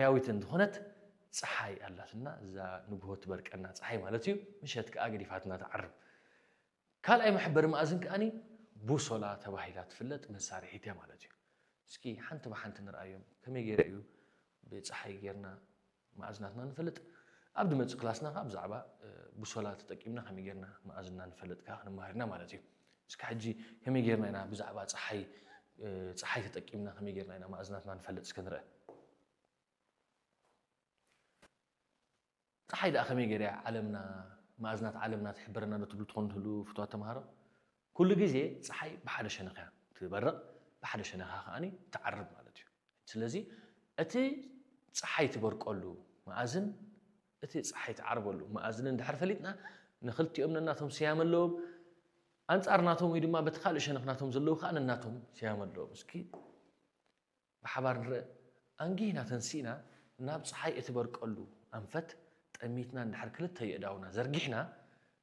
ያዊት እንተኾነት ፀሓይ ኣላትና፣ እዛ ንግሆ ትበርቀና ፀሓይ ማለት እዩ። ምሸት ከዓ ገዲፋትና ትዓርብ። ካልኣይ መሐበሪ መኣዝን ከኣኒ ቡሶላ ተባሂላ ትፍለጥ መሳርሒት እያ ማለት እዩ። እስኪ ሓንቲ ብሓንቲ ንርኣዮም። ከመይ ገይረ እዩ ብፀሓይ ጌርና መኣዝናትና ንፈልጥ? ኣብ ድመፅእ ክላስና ከዓ ብዛዕባ ቡሶላ ተጠቂምና ከመይ ጌርና መኣዝና ንፈልጥ ከዓ ክንመሃር ኢና ማለት እዩ። እስኪ ሕጂ ከመይ ጌርና ኢና ብዛዕባ ፀሓይ ፀሓይ ተጠቂምና ከመይ ጌርና ኢና መኣዝናትና ንፈልጥ እስከ ንርአ። ፀሓይ ደኣ ከመይ ገይራ እያ ዓለምና መኣዝናት ዓለምና ትሕብረና ዶ ትብሉ ትኾኑ ትህሉ ፍትዋት ተምሃሮ? ኩሉ ግዜ ፀሓይ ብሓደ ሸነኽ እያ ትበርቕ፣ ብሓደ ሸነኻ ከኣኒ ትዓርብ ማለት እዩ። ስለዚ እቲ ፀሓይ ትበርቀሉ መኣዝን እቲ ፀሓይ ትዓርበሉ መኣዝን እንድሕር ፈሊጥና ንክልቲኦም ነናቶም ስያመ ኣለዎም። ኣንፃር ናቶም ወይ ድማ በቲ ካልእ ሸነኽ ናቶም ዘለዉ ከዓ ነናቶም ስያመ ኣለዎም። እስኪ ብሓባር ንርእ። ኣንጊህና ተንሲእና ናብ ፀሓይ እትበርቀሉ ኣንፈት ጠሚትና እንድሕር ክልተ የእዳውና ዘርጊሕና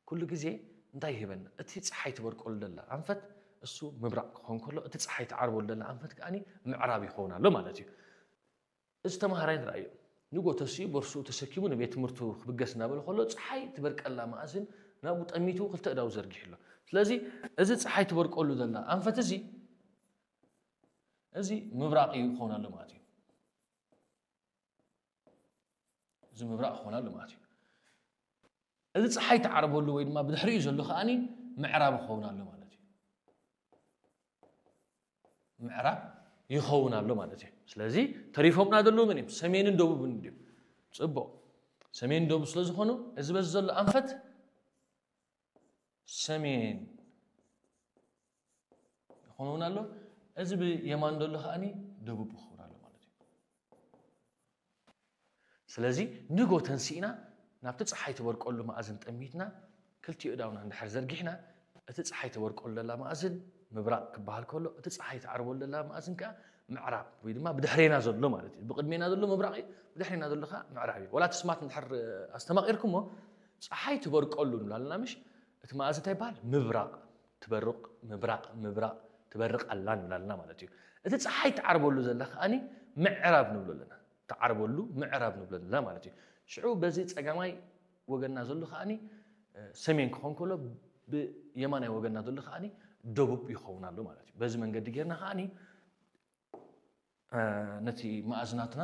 ኩሉ ግዜ እንታይ ይህበና? እቲ ፀሓይ ትበርቀሉ ደላ ኣንፈት እሱ ምብራቕ ክኸውን ከሎ እቲ ፀሓይ ትዓርበሉ ደላ ኣንፈት ከኣኒ ምዕራብ ይኸውን ኣሎ ማለት እዩ። እዚ ተምሃራይ ንርኣዮ። ንጎ ተሲኡ ቦርሱ ተሰኪሙ ንቤት ትምህርቱ ክብገስ እናበለ ከሎ ፀሓይ ትበርቀላ መኣዝን ናብኡ ጠሚቱ ክልተ እዳው ዘርጊሑ ኣሎ። ስለዚ እዚ ፀሓይ ትበርቀሉ ዘላ ኣንፈት እዚ እዚ ምብራቕ እዩ ክኸውን ኣሎ ማለት እዩ። እዚ ምብራቕ ክኸውን ኣሎ ማለት እዩ። እዚ ፀሓይ ትዓርበሉ ወይ ድማ ብድሕሪኡ ዘሎ ከኣኒ ምዕራብ ክኸውን ኣሎ ማለት እዩ። ምዕራብ ይኸውን ኣሎ ማለት እዩ። ስለዚ ተሪፎምና ዘለዉ መን እዮም? ሰሜንን ደቡብን እዮም። ፅቡቕ። ሰሜን ደቡብ ስለ ዝኾኑ እዚ በዚ ዘሎ ኣንፈት ሰሜን ይኸውን ኣሎ። እዚ ብየማን ዘሎ ከኣኒ ደቡብ ይኸውን ኣሎ ማለት እዩ። ስለዚ ንጎ ተንሲእና ናብቲ ፀሓይ ትበርቀሉ መኣዝን ጠሚትና ክልቲኡ እዳውና እንድሕር ዘርጊሕና እቲ ፀሓይ ትበርቀሉ ዘላ መኣዝን ምብራቕ ክበሃል ከሎ እቲ ፀሓይ ትዓርበሉ ዘላ መኣዝን ከዓ ምዕራብ ወይ ድማ ብድሕሬና ዘሎ ማለት እዩ። ብቅድሜና ዘሎ ምብራቕ እዩ፣ ብድሕሬና ዘሎ ከዓ ምዕራብ እዩ። ዋላ እቲ ስማት እንድሕር ኣስተማቒርኩሞ ፀሓይ ትበርቀሉ ንብላ ኣለና ምሽ? እቲ መኣዝን እንታይ ይበሃል? ምብራቕ ትበርቕ፣ ምብራቕ ምብራቕ ትበርቕ ኣላ ንብላ ኣለና ማለት እዩ። እቲ ፀሓይ ትዓርበሉ ዘላ ከኣኒ ምዕራብ ንብሎ ኣለና። ትዓርበሉ ምዕራብ ንብሎ ኣለና ማለት እዩ። ሽዑ በዚ ፀጋማይ ወገንና ዘሎ ከኣኒ ሰሜን ክኾን ከሎ ብየማናይ ወገንና ዘሎ ከኣኒ ደቡብ ይኸውን ኣሎ ማለት እዩ። በዚ መንገዲ ጌርና ከኣኒ ነቲ መኣዝናትና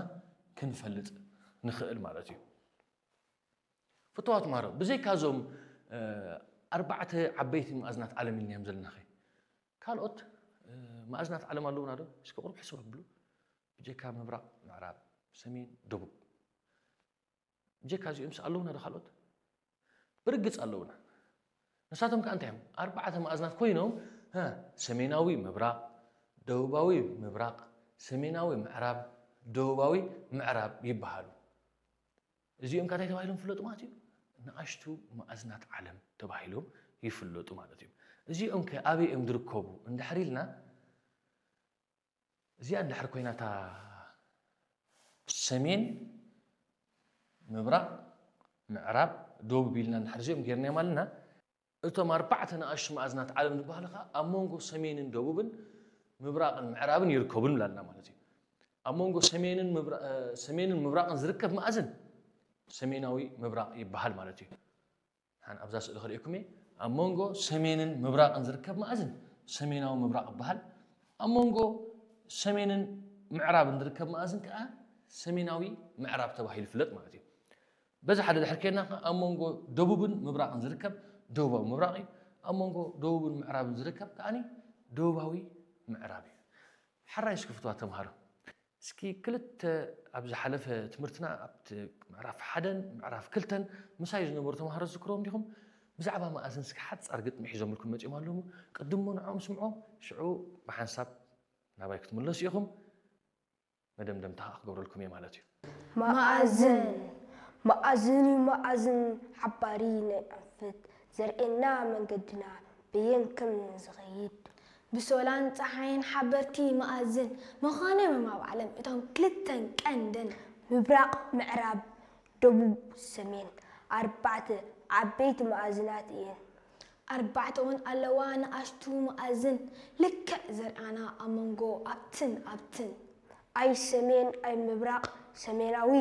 ክንፈልጥ ንኽእል ማለት እዩ። ፍትዋት ማሮ ብዘይካ እዞም ኣርባዕተ ዓበይቲ መኣዝናት ዓለም ኢልናዮም ዘለናኸ ካልኦት መኣዝናት ዓለም ኣለውና ዶ? እስኪ ቁሩብ ሕስብ ኣብሉ። ብጀካ ምብራቕ ምዕራብ፣ ሰሜን ደቡብ፣ ብጀካ እዚኦምስ ኣለውና ዶ ካልኦት? ብርግፅ ኣለውና። ንሳቶም ከዓ እንታይ እዮም? ኣርባዕተ መኣዝናት ኮይኖም ሰሜናዊ ምብራቕ፣ ደቡባዊ ምብራቕ፣ ሰሜናዊ ምዕራብ፣ ደቡባዊ ምዕራብ ይበሃሉ። እዚኦም ከ እንታይ ተባሂሎም ይፍለጡ ማለት እዩ? ንኣሽቱ መኣዝናት ዓለም ተባሂሎም ይፍለጡ ማለት እዩ። እዚኦም ከ ኣበይ እዮም ዝርከቡ እንድሕር ኢልና እዚኣ እንድሕር ኮይናታ ሰሜን ምብራቕ ምዕራብ ደቡብ ኢልና እንድሕር እዚኦም ጌርናዮም ኣለና እቶም ኣርባዕተ ንኣሽቱ መኣዝናት ዓለም ዝበሃሉ ከዓ ኣብ መንጎ ሰሜንን ደቡብን ምብራቕን ምዕራብን ይርከቡ ንብላ ኣለና ማለት እዩ። ኣብ መንጎ ሰሜንን ምብራቕን ዝርከብ መኣዝን ሰሜናዊ ምብራቕ ይበሃል ማለት እዩ። ሓን ኣብዛ ስእሊ ክርእየኩም እየ። ኣብ መንጎ ሰሜንን ምብራቕን ዝርከብ መኣዝን ሰሜናዊ ምብራቕ ይበሃል። ኣብ መንጎ ሰሜንን ምዕራብን ዝርከብ መኣዝን ከዓ ሰሜናዊ ምዕራብ ተባሂሉ ይፍለጥ ማለት እዩ። በዚ ሓደ ድሕር ከይድና ከዓ ኣብ መንጎ ደቡብን ምብራቕን ዝርከብ ደቡባዊ ምብራቕ እዩ። ኣብ መንጎ ደቡብን ምዕራብን ዝርከብ ከዓኒ ደቡባዊ ምዕራብ እዩ። ሕራይ እስኪ ፍትዋ ተምሃሮ እስኪ ክልተ ኣብ ዝሓለፈ ትምህርትና ኣብቲ ምዕራፍ ሓደን ምዕራፍ ክልተን ምሳይ ዝነበሩ ተምሃሮ ዝዝክሮም ዲኹም? ብዛዕባ መኣዝን እስኪ ሓፃር ግጥሚ ሒዞምልኩም መፂኦም ኣለዉ። ቅድሞ ንዕኦም ስምዖም ሽዑ ብሓንሳብ ናባይ ክትምለሱ ኢኹም። መደምደምታ ከዓ ክገብረልኩም እየ ማለት እዩ። መኣዝን መኣዝን እዩ መኣዝን ሓባሪ ናይ ኣንፈት ዘርእየና መንገድና በየን ከም ንዝኸይድ ብሶላን ጸሓይን ሓበርቲ መኣዝን ምዃኖም እዮም ኣብ ዓለም እቶም ክልተን ቀንድን ምብራቕ ምዕራብ ደቡብ ሰሜን ኣርባዕተ ዓበይቲ መኣዝናት እየን። ኣርባዕተ እውን ኣለዋ ንኣሽቱ መኣዝን ልክዕ ዘርኣና ኣብ መንጎ ኣብትን ኣብትን። ኣይ ሰሜን ኣይ ምብራቕ ሰሜናዊ